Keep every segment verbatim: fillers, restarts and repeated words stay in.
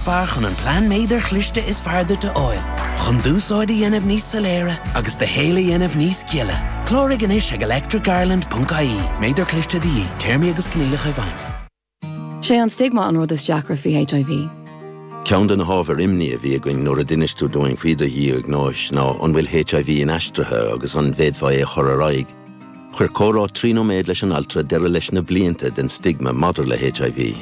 Fearr chun an plean méadair chliste is fearr duit a fháil, chun d'úsáid a dhéanamh níos soiléire agus do shaol a dhéanamh níos gile. Cláraigh anois ag electricireland.ie, méadar cliste de dhíth, téarmaí agus coinníollacha i bhfeidhm. Sé an stigma an rud is deacra faoi HIV. Ceann de na hábhair imní a bhí againn nuair a d'inis tú dúinn faoi do dhiagnóis ná an bhfuil HIV inaistrithe agus an bhféadfaí é a chur ar aghaidh. Chuir comhrá trí nóiméad leis an altra deireadh leis na blianta den stigma maidir le HIV.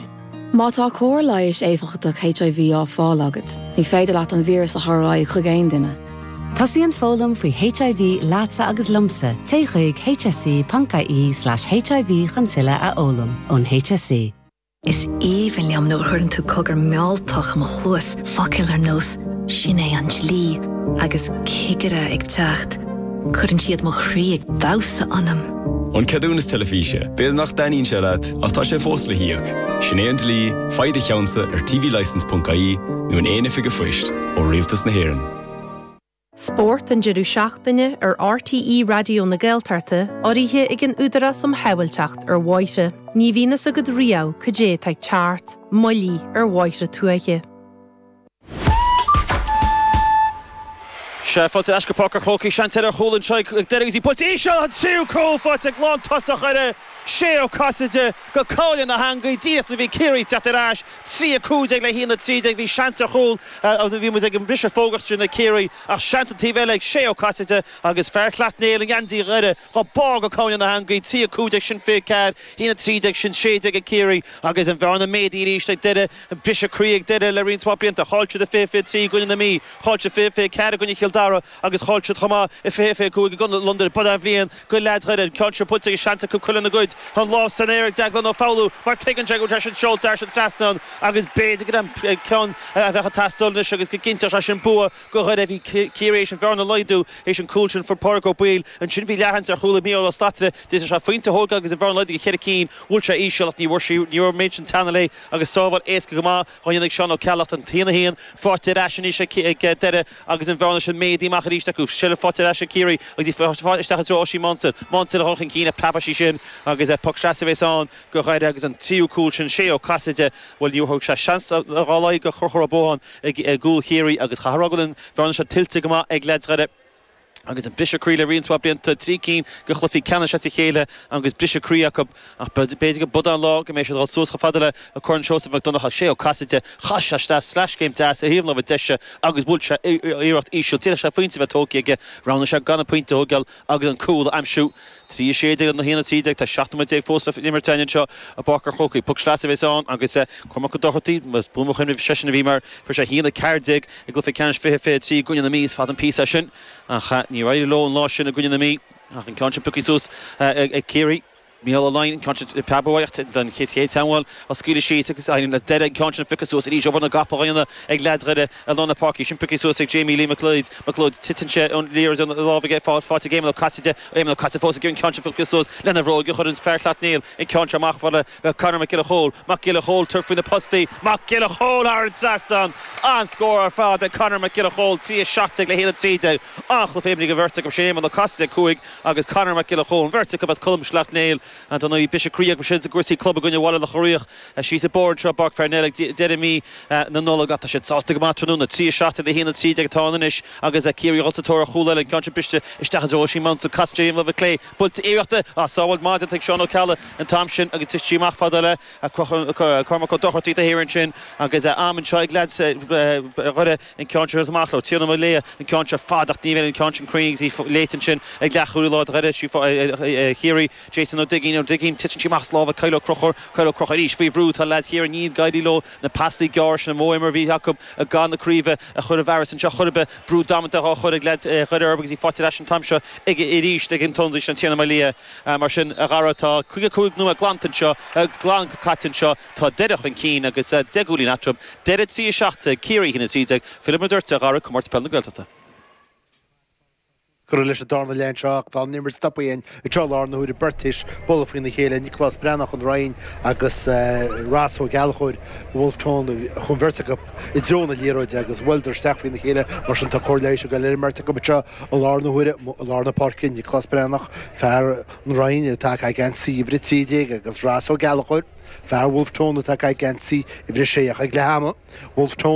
Má tá cóir leighis éifeachtach HIV á fáil agat, ní féidir leat an víreas a chur ar aghaidh chuig aon duine. Tosaíonn foghlaim faoi HIV leatsa agus liomsa, téigh chuig hse.ie slash HIV chun tuilleadh a fhoghlaim ón HSE. Is aoibhinn liom nuair a chuireann tú cogar mealltach i mo chluas focail ar nós sin é an dlí agus cigire ag teacht. Cuireann siad mo chroí ag damhsa ionam. An ceadúnas teilifíse, B'fhéidir nach dtaitníonn sé leat ach tá sé fós le híoc. Sin é an dlí, faigh do cheannsa ar tvlicence.ie nó in aon oifig phoist ó Rialtas na hÉireann. Spórt an deireadh seachtaine ar RTÉ Raidió na Gaeltachta urraithe ag an Údarás um Shábháilteacht ar Bhóithre. Ní bhíonn a fhios agat riamh cad é atá ag teacht, moilligh ar bhóithre tuaithe. Sea, faighte ar ais go Páirc an Chrócaigh, seans eile ar chúl anseo ag Doire agus í buailte íseal, an tríú cúl faighte ag lántosach Dhoire, Shay Ó Casaide go cúinne na heangaí, díreach nuair a bhí Ciarraí ag teacht ar ais, trí a cúig déag le haon a trí déag, bhí seans ar chúl, bhí muid ag an mbriseadh fógraíochta sin ag Ciarraí ach seans an taobh eile ag Shay Ó Casaide agus fear Shleacht Néill i ngeansaí Dhoire dhá bhá go cúinne na heangaí, trí a cúig déag sin fiche ceathair, haon a trí déag sin sé déag ag Ciarraí agus an bhearna méadaithe arís ag Doire, briseadh croí ag Doire le roinnt mhaith blianta, chaill siad i fiche fiche trí i gcoinne na Mí. Chaill siad fiche fiche ceathair i gcoinne Chill Dara agus chaill siad chomh maith i fiche fiche cúig i gcoinne Londain. B'in an bhliain do leaids Dhoire. An ceann seo buailte agus seans acu chuile ina gcuid. Tá an lámh san aer ag Deaglán Ó Foghlú mar tuigeann sé go bhfuil sé sin seolta thar an trasnán agus b'fhéidir gurb an ceann a bheadh ag teastáil anois agus go gcinnteodh sé sin bua do Dhoire. Bhí Ciarraí théis an bhearna a laghdú théis an cúl sin fuair Pádraig Ó Baoill. Ansin bhí leathsheans ar chúl ag Mícheál Ó Slatara. D'fhéadfadh sé pointe a thógáil agus an bhearna a laghdú go cheithre cinn. Bhuail sé íseal ach ní raibh an méid sin teanna léi agus sábháil éasca go maith á dhéanamh ag Seán Ó Ceallaigh an t-aon a haon faighte ar ais anois ag Doire agus an bhearna sin méadaithe amach arís acu. Seilbh faighte ar ais ag Ciarraí agus í faighte isteach i dtreo Oisín Maunsell. Maunsell a dhul chun cinn ach preabfaidh sí sin agus poc trasna a bheas ann do Dhoire agus an tríú cúl sin Shay Ó Casaide, bhuel níor thug sé seans dá laghad do Chonchúr Ó Buacháin i gcúl Chiarraí agus chaithfear a rá go bhfuil an bhearna seo tuillte go maith ag leaids Dhoire. Agus an briseadh croí le roinnt mhaith blianta, trí cinn de chluichí ceannais as a chéile agus briseadh croí acu. Ach b'fhéidir go b'shin an lá go mbeidh siad ag dul suas chomh fada le Corn Seosamh Mac Donncha. Shay Ó Casaide, chaith sé isteach sleaschéim deas ar thaobh na láimhe deise agus bhuail sé iarracht íseal. D'fhéadfadh sé pointe a bheith tógtha aige. Roghnaigh sé gan an pointe a thógáil agus an cúl a aimsiú. Trí a sé déag le haon a trí déag, tá seacht nóiméad déag fós le imirt againn anseo i bPáirc an Chrócaigh. Poc sleasa a bheas ann agus Cormac Ó Dochartaigh, más buan mo chuimhne, seisean a bhí mar fuair sé a haon a ceathair déag i gcluiche ceannais fiche fiche trí i gcoinne na Mí. Is fada an píosa é sin. Ach níor éirigh leo an lá sin i gcoinne na Mí. Ach an ceann sin pioctha suas ag Ciarraí. Mícheál Ó Laighin, an ceann sin preabadh uaidh don chéad chéad teagmháil á scaoileadh síos agus éiríonn le Doire an ceann sin a phiocadh suas arís obair na gcapall á dhéanamh ag leaids Dhoire i lár na páirce. Sin pioctha suas ag Jamie Lee McLeod. McLeod, titeann sé ón liathróid óna lámh aige faighte ag Éamonn Ó Casaide. Éamonn Ó Casaide fós ag iarraidh an ceann sin a phiocadh suas lena bhróig a chuir an fear Shleacht Néill an ceann seo amach fad le Conor Mac Giolla Chóill. Mac Giolla Chóill tabhairt faoi na postaí. Mac Giolla Chóill thar an trasnán! An-scór ar fad ag Conor Mac Giolla Chóill, trí a seacht déag le haon a trí déag. An-chluiche imeartha ag an bheirt acu sin, Éamonn Ó Casaide cúig agus Conor Mac Giolla Chóill, an bheirt acu as Colm Sleacht Néill. Dar ndóigh, briseadh croí acu sin i gcúrsaí club i gcoinne Bhaile Locha Riach síos an bóthar anseo i bPáirc Pharnell ag deireadh mí na Nollag ach tá siad sásta go maith tráthnóna. Trí a seacht déag le haon a trí déag atá ann anois agus Ciarraí ag dul sa tóir ar chúl eile, an ceann sin briste isteach i dtreo Oisín Mounsell. Casann sé ar an lámh clé, buailte iarrachta, ah, sábháil maith déanta ag Seán Ó Ceallaigh an t-am sin agus thit sí amach fada le Cormac Ó Dochartaigh taobh thiar ansin agus am anseo ag leaids Dhoire an ceann seo a thabhairt amach leo. Tiarnán Mac Léa an ceann seo fada ach ní bheidh an ceann sin cruinn agus í léite ansin ag leathchúlaí láir Dhoire, Chiarraí, Jason Ó Duigín, Ó Duigín, titeann sí amach as lámha Kyle Ó Conchúir, Kyle Ó Conchúir arís faoi bhrú, tá leaids Chiarraí ní ag éirí leo na pasanna gearra sin an modh imeartha a bhí acu i gcath na craoibhe a chur i bhfearas anseo chor ar bith, brú damanta á chur ag leaids Dhoire orthu agus í faighte ar ais an t-am seo ag arís ag an t-ionadaí sin Tiarnán Mac Léa. Mar sin, a Dhara, tá caoga cúig nóiméad glanta anseo, glan caite anseo, tá Doire chun cinn agus deich gcúilín eatarthu. Doire trí a seacht déag, Ciarraí a haon a trí déag. Fillfidh muid ort, a Dhara, Comórtas Peile na Gaeltachta. Curtha leis an darna leath anseo ach tá an imirt stoptha againn anseo i láthair na huaire beirt théis bualadh faoina chéile, Nioclás Breathnach ón Rinn agus Ross Ó Gallchóir Wolfe Tone chuaigh an bheirt acu i dtreo na liathróide agus bhuaileadar isteach faoina chéile mar sin tá cóir leighis ag dul ar an mbeirt acu anseo i láthair na huaire i lár na páirce, Nioclás Breathnach, fear an Rinn atá ag caitheamh geansaí uimhir a trí déag agus Ross Ó Gallchóir, fear Wolfe Tone atá ag caitheamh geansaí uimhir a sé ach ag leath ama Wolfe Tone.